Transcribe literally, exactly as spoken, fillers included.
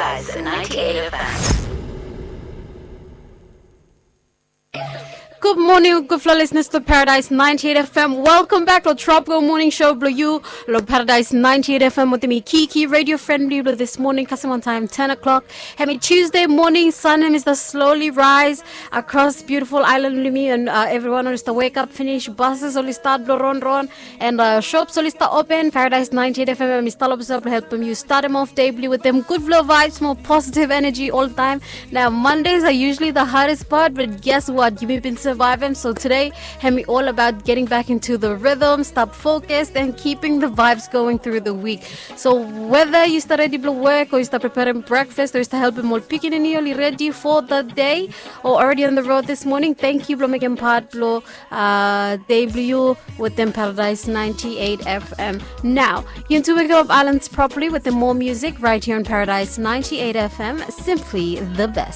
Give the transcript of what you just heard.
Paradise ninety-eight F M. Gud moning gudfala listeners to Paradise ninety-eight F M. Welcome back to Tropical Morning Show blong yu long Paradise ninety-eight F M wetem mi Kiki, radio friend blong yu blong this morning, kasem on time ten o'clock. Hemi Tuesday morning, sun hemi start slowly rise across beautiful island blong mi, and uh, everyone oli start wake up finish, buses oli start blong ronron, and uh, shops oli start open. Paradise ninety-eight F M hemi stap long helpem yu startem off day blong yu wetem gudfala vibes, more positive energy all time. Now, Mondays are usually the hardest part, but guess what? Yumi bin survivem. So today, hemi all about getting back into the rhythm, stap focused, and keeping the vibes going through the week. So whether yu stap redi blong work, o yu stap preparem breakfast, o yu stap helpem ol pikinini oli redi for the day, o already on the road this morning, thank you blong mekem part blong uh, day blong yu wetem Paradise ninety-eight F M. Now, yu tune in to Islands properly wetem more music right here on Paradise ninety-eight F M. Simply the best.